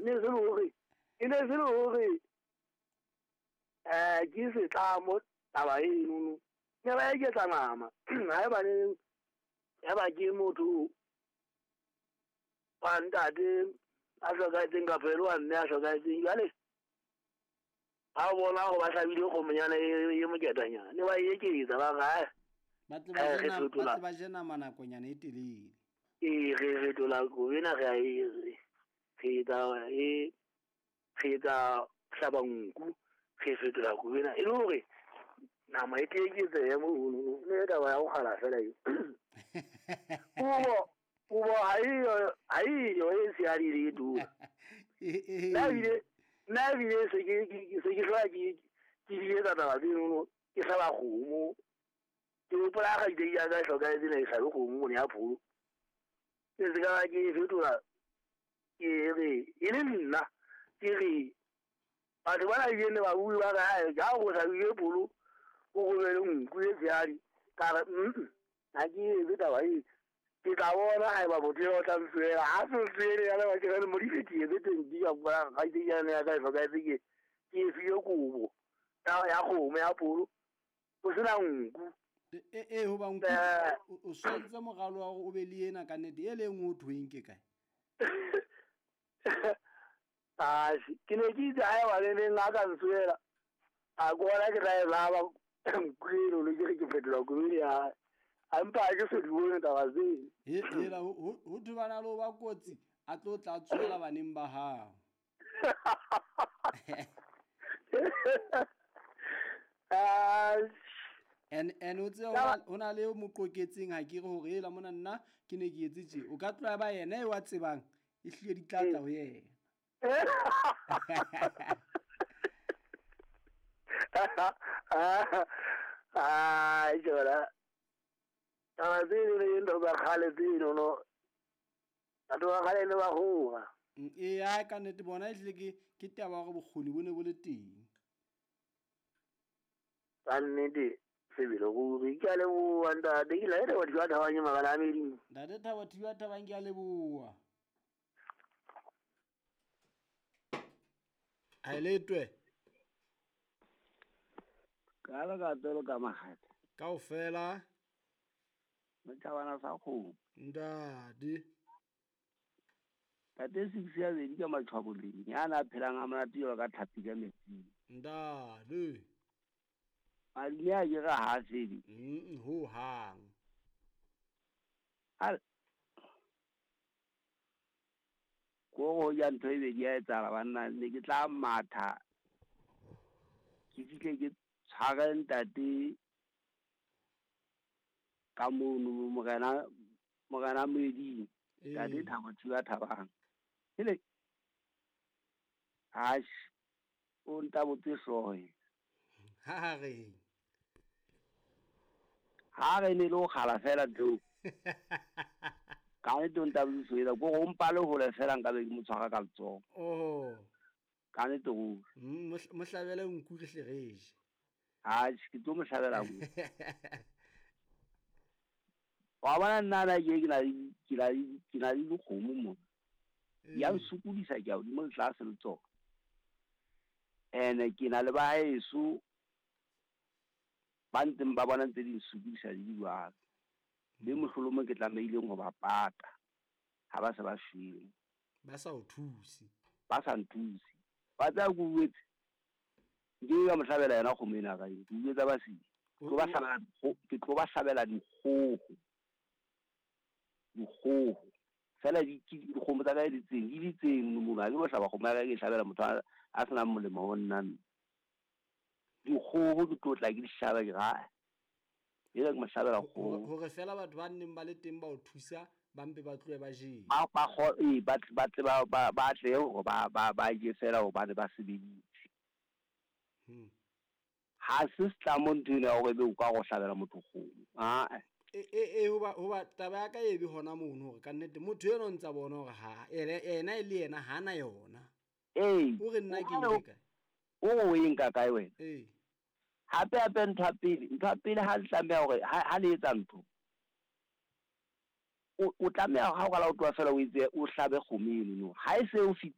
ne se le hore e ne se le hore ke setlamo taba enono. Ne ba eketsa nama. Haebaneng ya ba ke motho wa ntate a hlokahetseng kapa e le wa mme a hlokahetseng, jwale ba bona hore ba hlabile kgomonyana e moketanyana, ne ba e eketsa ba re ae, Ba tle re fetola ba tle ba je nama nakonyana e telele. Ee, re fetola kobo ena, re a e re etsa e re etsa hlaba nku, re fetola kobo ena e le hore nama e tle eketsehe monono. Ne e taba ya ho kgala fela eo. Kobo ha eyo e tshehadi le e tona. Nna ebile se ke hlola ke di etsa taba tsenono, ke hlaba kgomo. Ke hopola ha kgaitsedi ya ka e hlokahetse, ne ke hlabe kgomo mone ya pholo. Ke se ka ba ke e fetola, ke re e le nna ke re batho bana ebile ne ba bue ba re ae, ha o hlabile pholo o romele nku e tshehadi. Ka re ha ke etse taba e, ke tla bona haeba motho eo o tla ntsohela. Ha se ntsohele ya leba ke re Modimo ke etse 20 ka bona kgaitsedi yane ya ka e hlokahetse, ke e file kobo ya kgomo ya pholo ho sena nku. E hoba nku o swantse moralo wa hore o be le ena ka nnete e le nngwe o thweng ke kae? Atjhe, ke ne ke itse haeba le neng a ka ntsohela, a ke bona ke tla e laba nku eno, le ke re ke fetola kobo ena ya hae. A mpa ha ke so di bone taba tseno. Hela, ho thwe bana le ho ba kotsi, a tlo tla tsohela baneng ba hao. And o tsebe ho na le mo qoketseng ha ke re hore hela mona nna ke ne ke etse tje. O ka tloha ba yena eo a tsebang, e hlile di tla tla ho yena. Ai, tsona. Taba tseno le ntho tsa kgale tseno no. Batho ba kgale ne ba hoha. Ee, ha ka nnete bona ehlile ke taba ya hore bokgoni bo ne bo le teng. Ka nnete sebele ruri, ke a leboha ntate. Ke la Thabo Thiba Thabang makala a medimo. Ntate Thabo Thiba Thabang, ke a leboha. Ha e letwe. Ka le ka tolo ka mahata. Kaofela. Mothabana sa kgomo. Ntate. Ntate six ya bedi ka matshwaboleng, ya na phelang a monate jwalo ka tlhapi ka metsing. Ntate. Malome a ke re ha fele. Ho hang. Al ko go ja ntho e bedi ya etsahala banna, ne ke tla matha. Ke fihle ke tshware ntate ka mono morena Moeding. Ntate Thabo Thiba Thabang. Hele. Ash o ntabotse hlooho. Ha re. Ha re ne le ho kgala fela ntho. Ka nnete o ntabotse hlooho, ko go mpa le hole fela nka be ke mo tshwara ka letsoho. Oh. Ka nnete ruri. Mo hlabele nku re hle re je. Atjhe, ke tlo mo hlabela nku. Wa bona nna na ke na le dikgomo mona. Ya nsokodisa ke a hodimo le tlase le tsona. Ene ke na le ba heso ba ntseng ba bona ntse di nsokodisa di jwalo. Le mohlolomong ke tlamehileng ho ba pata ha ba se ba shwele. Ba sa o thuse. Ba sa nthuse. Ba tla go buetse. Nke ka mo hlabela yena kgomo ena ka eng. Ke buetsa ba se. Ke tlo ba hlabela dikgoho. Dikgoho. Fela dikgomo tsa ka di tseng, di tseng mono. Ha ke lo hlaba kgomo ya ka ke hlabela motho a senang molemo ho nna. Dikgoho ke tlo tla ke di hlaba ke ra. E re ke mo hlabela kgoho. Hore fela batho ba nneng ba le teng ba o thusa, ba mpe ba tlohe ba jele. Ba tle hore ba je fela hobane ba sebeditse. Ha se setlamo ntho ena ya hore ebe o ka go hlabela motho kgomo. Ah. E hoba taba ya ka e be hona mono hore ka nnete motho eno ntsa bona hore ha ena e le yena ha na yona. Ee. O re nna ke nke kae? O e nka kae wena? Ee. Hape ntho ya pele ha le tlameha hore ha le etsa ntho, o tlameha ha o qala o tloha fela o etse o hlabe kgomo eno. Ha e se o